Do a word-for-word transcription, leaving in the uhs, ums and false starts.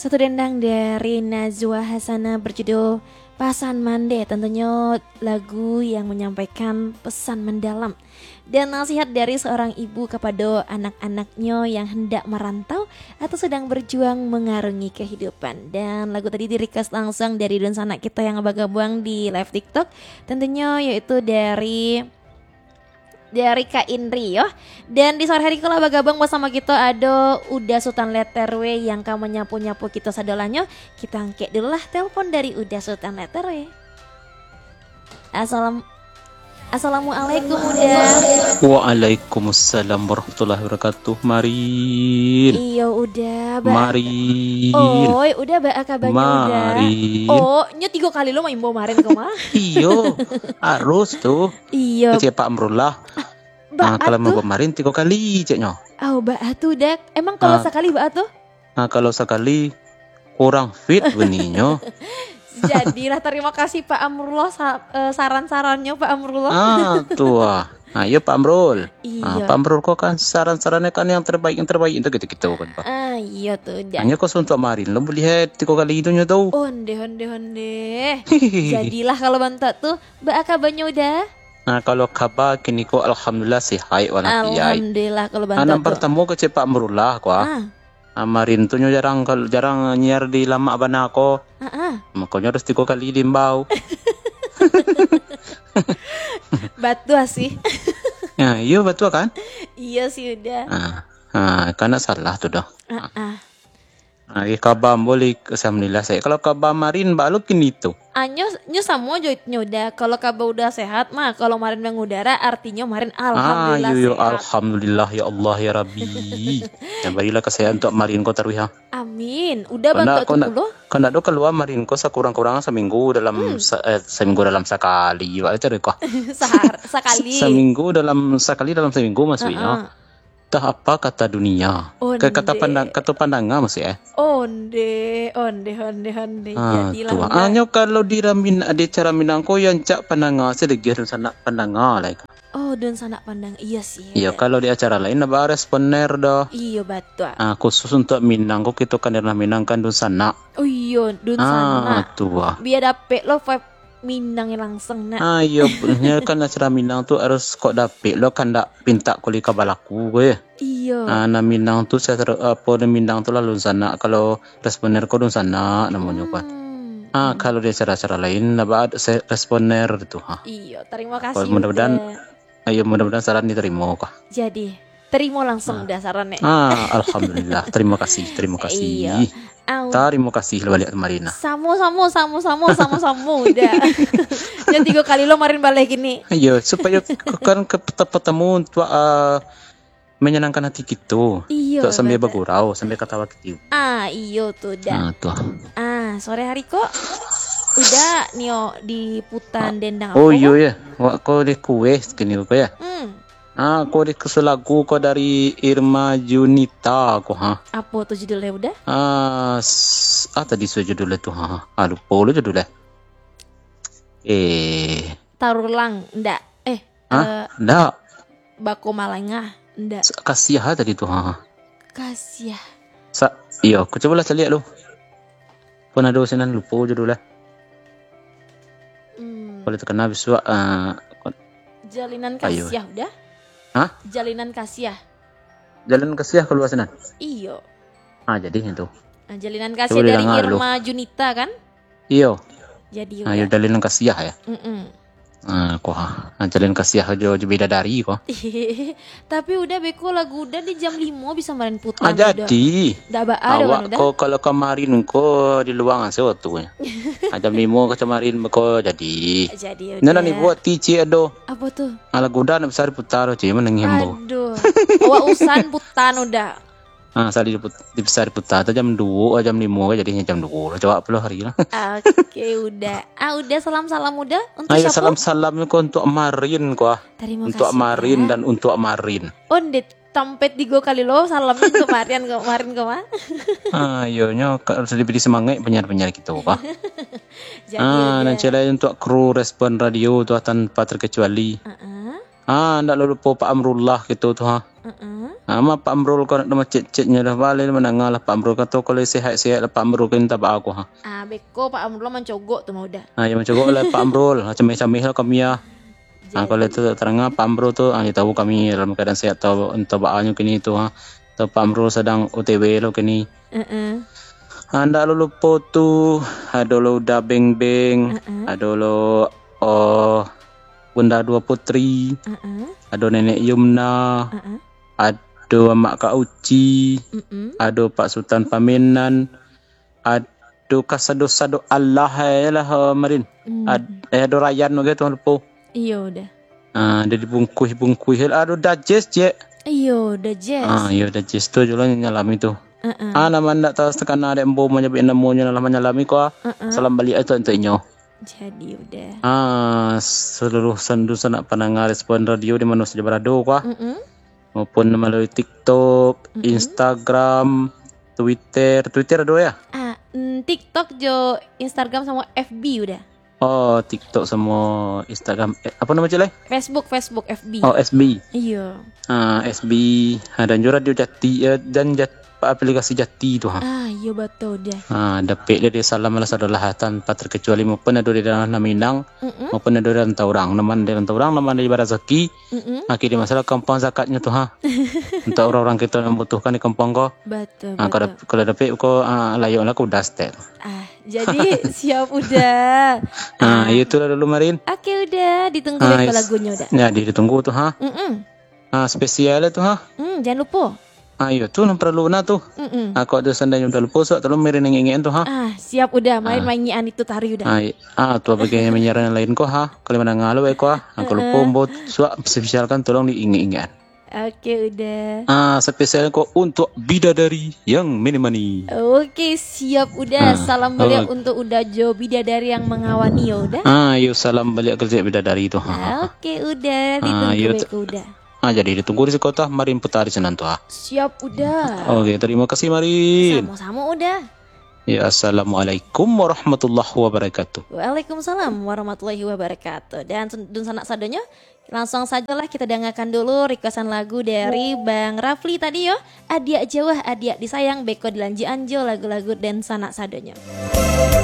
Satu dendang dari Najwa Hasanah berjudul Pasan Mandeh, tentunya lagu yang menyampaikan pesan mendalam dan nasihat dari seorang ibu kepada anak-anaknya yang hendak merantau atau sedang berjuang mengarungi kehidupan. Dan lagu tadi di-request langsung dari dunsanak kita yang bergabung di live TikTok, tentunya yaitu dari dari Kak Indri yo. Dan di sore hari ko lah bagabung basamo kito ado Uda Sutan Leterwe yang ka manyapu-nyapu kito sadolahnyo. Kito angkek dulu lah telepon dari Uda Sutan Leterwe. Assalam-, Assalamualaikum, Uda. Waalaikumsalam warahmatullahi wabarakatuh. Marin. Iyo, Uda, ba- Marin. Oi, Uda, baa kabanyo, Uda? Marin. Oh, nyo tigo kali lo maimbau Marin ko mah. Iyo, harus tu. Iyo. Kecek Pak Amrullah. Ah, baa kalau tu? Maimbau Marin tigo kali, ceknyo. Au, baa tu, Uda. Emang kalau Ah. sakali baa tu? Ah, kalau sakali kurang fit bunyinyo. Jadilah, tarimo kasih Pak Amrullah sa-, eh, saran-sarannyo, Pak Amrullah. Ah, tu ah. Ah, iyo Pak Amrul. Iyo. Ah, Pak Amrul ko kan saran-sarannyo kan yang terbaik, yang terbaik tu kito-kito kan, Pak. Ah, iyo tu, Uda. Hanyo ko suntuak Marin lo buliah tigo kali tu nyo tu. Onde, onde, onde. Jadilah kalau bantuak tu, baa kabanyo, Uda? Nah, kalau kaba kini ko alhamdulillah sehat walafiat. Alhamdulillah kalau bantuak tu. Ah, nan partamo kecek Pak Amrullah ko ah. Ah. Ah, Marin tu nyo jarang kal-, jarang nyiar di lamak bana ko. Ah, ah. Makonyo harus tigo kali diimbau. Batua sih. Ya, iyo batua kan? Iyo sih, Uda. Ah, ah, kan ndak salah tu doh. Ah, ah. Ah, eh, kaba ambo lai, alhamdulillah, sehat. Kalau kaba Marin, baa lo kini tu? Ah, nyo, nyo samo jo nyo, Uda. Kalau kaba Uda sehat mah, kalau Marin mangudara, artinyo Marin alhamdulillah sehat. Ah, yo, yo, alhamdulillah, ya Allah, ya Rabbi. Yo, barilah kasehatan untuak Marin ko taruih, ha. Amin. Uda bantuak tu pulo. Kok ndak do kalua Marin ko sakurang-kurang saminggu dalam Hmm. sa-, eh, saminggu dalam sakali, baa caro ko. Sahar-, sakali. Saminggu dalam, sakali dalam saminggu maksudnyo. Ah, ah. Tah apa kata dunia? Onde. Ka-, kata pandang-, kato pandanga maksud eh? Onde, onde, onde, onde. Ah, jadilah tu. Hanyo kalau di ramin-, di acara Minang ko yang cak pandanga sajo, dunsanak pandanga lah. Oh, dunsanak pandanga. Iyo sih. Iyo, kalau di acara lain ndak ba responer doh. Iyo, batua. Ah, khusus untuak Minang ko, kito kan daerah Minang kan dunsanak. Oh iyo, dunsanak. Ah, tu ah. Bia dapek lo vibe Minang langsung nak. Ah, iyo, nyo kan acara Minang tu harus kok dapek lo, kan ndak pintak kuli ka balaku ko yo. Iyo. Ah, nan Minang tu, apo, nan Minang tu lah dunsanak. Kalau responer ko dunsanak namonyo kan. Hmm. Ah, kalau di acara-acara lain, ndak ba se-, responer tu, ha. Iyo, tarimo kasih. Mudah-mudahan, Uda. Iyo, mudah-mudahan saran ditarimo, kah. Jadi, tarimo langsung Ah. Uda saran, eh. Ah, alhamdulillah. Tarimo kasih, tarimo kasih. Iyo. Au. Tarimo kasih lah baliak Marin, ah. Samo-samo, samo-samo, samo-samo, Uda. Jan tigo kali lo Marin baleh kini. Iyo, supayo k-, kan ka-, ta-, batamu untuak, ah, manyanangkan hati kito. Iyo, untuak sambil batua. Bagurau, sambil katawa kitiwi. Ah, iyo tu, Uda. Ah, tu. Ah, sore hari ko Uda nio di putan Ah. Dendang Oh, apo iyo ko? Yo. Wak ko di kueh kini ko yo. Hmm. Ah, ko di kusu lagu ko dari Irma Junita ko, ha. Apo tu judulnyo, Uda? Ah, s-, ah, tadi su judulnyo tu, ha. Ah, lupo lo judulnyo. Eh. Tarulang, ndak? Eh, Hah? Eh, Ndak. Bako malangah, ndak? Sa-, kasiah ah tadi tu, ha. Kasiah. Sa-, iyo, ko cubolah caliak lu. Pun ado sinan lupo judulnyo. Hmm. Kalau takana bisuak, ah, Jalinan ayo. Kasiah, Uda? Hah? Jalinan kasiah. Jalinan kasiah kalua sinan? Iyo. Ah, jadi itu. Ah, Jalinan Kasiah dari Irma Junita, kan? Iyo. Jadi, Uda. Ah, iyo, Jalinan Kasiah, yo? Mm-mm. Ah, ko, ah, Jalinan Kasiah jo, jo Bidadari, ko. Tapi Uda, beko lagu Uda di jam limo bisa main putar, Ah, Uda. Jadi. Ndak ba-, ado kan, Uda? Awak ko kalau kamarin ko di luang ase waktunyo. Ah, jam limo ka kamarin ko jadi. Jadi, Uda. Nyo nan dibuek ti ciek ado. Apo tu? Ah, lagu Uda ndak bisa diputar, ciek manangih ambo. Aduh. Awak usan putar, Uda. Ah, sali diput-, bisa diputar tu jam duo, jam limo, jadinya jam duo. Coba puluh hari lah. Oke, Uda. Ah, Uda, salam-salam Uda untuk Ayo, siapa? Salam-salam ko untuak Marin ko, ah. Tarimo kasih, Uda. Untuak Marin dan untuak Marin. Onde tampek tigo kali lo salam untuak Marin ko, Marin ko, mah. Ah, iyo, nyo ka-, harus diberi semangat penyiar-penyiar kito, ko. Jadi, Ah, Uda. Nan ciek lai untuak kru Respon Radio tu, ah, tanpa terkecuali. Ah, ah. Ah, ndak lupo Pak Amrullah kito tu, ha. Mm-mm. Ah, ma Pak Amrul ko nak cek-ceknyo dah, baleh mandanga lah Pak Amrul kato, kalau sehat-sehat lah Pak Amrul ko minta baa ko, ha. Ah, beko Pak Amrul mancogok tu mah udah. Ah, ya mancogok lah Pak Amrul, ah, cameh-cameh lah kami ya. Ah, kalau itu tak terang, ah, Pak Amrul tu, ah, ya tahu kami dalam keadaan sehat atau, atau baanyo kini tu, ha. Atau Pak Amrul sadang O T W lo kini. Mm-mm. Ah, ndak lo lupo tu, ado lo Uda Beng Beng, Mm-mm. ado lo, oh, Bunda Dua Putri, Mm-mm. ado Nenek Yumna, Mm-mm. ado Amak Kak Uci, Mm-mm. ado Pak Sutan Pamenan, ado kasado-sado alah, eh, lah, eh, Marin. Hmm. Ad-, eh, ado Rayan lagi tu, lupo. Iyo, dah. Ah, ado dibungkuih-bungkuih, ado Dajes, Jek. Iyo, Dajes. Ah, iyo, Dajes tu juo lah nyalami tu. Heeh. Ah, nama ndak tahu sakana dek ambo manyabuik namonyo lah manyalami ko, ah. Heeh. Salam baliak tu untuak inyo. Jadi, udah. Ah, seluruh san-, dunsanak pandanga Respon Radio di mano sajo barado ko, ah. Mm-mm. Maupun malalui TikTok, Mm-mm. Instagram, Twitter. Twitter ado ya? Ah, mm, TikTok jo Instagram samo F B udah. Oh, TikTok samo Instagram. Eh, apa nama cik lai? Facebook, Facebook, F B. Oh, F B. Iyo. Ah, F B. Ah, dan juga Radio Jati, eh, dan Jat-, aplikasi Jati tu, ha. Ah, iyo, betul dah. Ah, dapek dek salam lah sadolah tanpa terkecuali maupun ado di dalam Minang, Mm-mm. maupun ado di rantau urang. Nama di rantau urang, nama di Barazaki. Mm-mm. Ah, kini masalah kampuang zakatnyo tu, ha. Untuk urang-urang kito yang mambutuhkan di kampuang ko. Betul, Ah, kalau betul. dap-, kalau dapek ko, ah, layaklah ko udah setel. Ah, jadi siap udah. Ah, Ah. iyo itulah dulu, Marin. Oke, udah. Ditunggu Ah, deh yes. lagunyo udah. Jadi ditunggu tu, ha. Mm-mm. Ah, spesial tu, ha. Hmm, jangan lupa. Ah, iyo tu, nan paralu bana tu. Mm-mm. Ah, kok ado sandainyo udah lupo, suak tolong Marin ingekan tu, ha. Ah, siap udah. Main Ah. maingian itu tari udah. Ah, i-, ah, tu bagi yang menyiaran yang lain ko, ha. Kalau mandanga lo baik ko, ha. Ah, kalau lupo, Heeh. ambo suak spesialkan tolong diingek-ingek. Oke, udah. Ah, spesial ko untuk bidadari yang mini-mani. Oke, siap, udah. Ah, Salam baliak oke. untuk Uda jo bidadari yang mangawani yo, udah. Ah, yo salam baliak kerja bidadari tu. Ha. Oke, udah. Ah, Ditunggu yo, baik tu. udah. Ah, jadi ditunggu di siko tu, Marin putar di sinan tu, ha. Siap, udah. Oke, terima kasih, Marin. Samo-samo, udah. Ya, assalamualaikum warahmatullahi wabarakatuh. Waalaikumsalam warahmatullahi wabarakatuh. Dan sen-, dunsanak sadonyo, langsung sajolah kita dangakan dulu requestan lagu dari Bang Rafli tadi yo. Adiak jauah, adiak disayang, beko dilanjuikan jo lagu-lagu dunsanak sadonyo.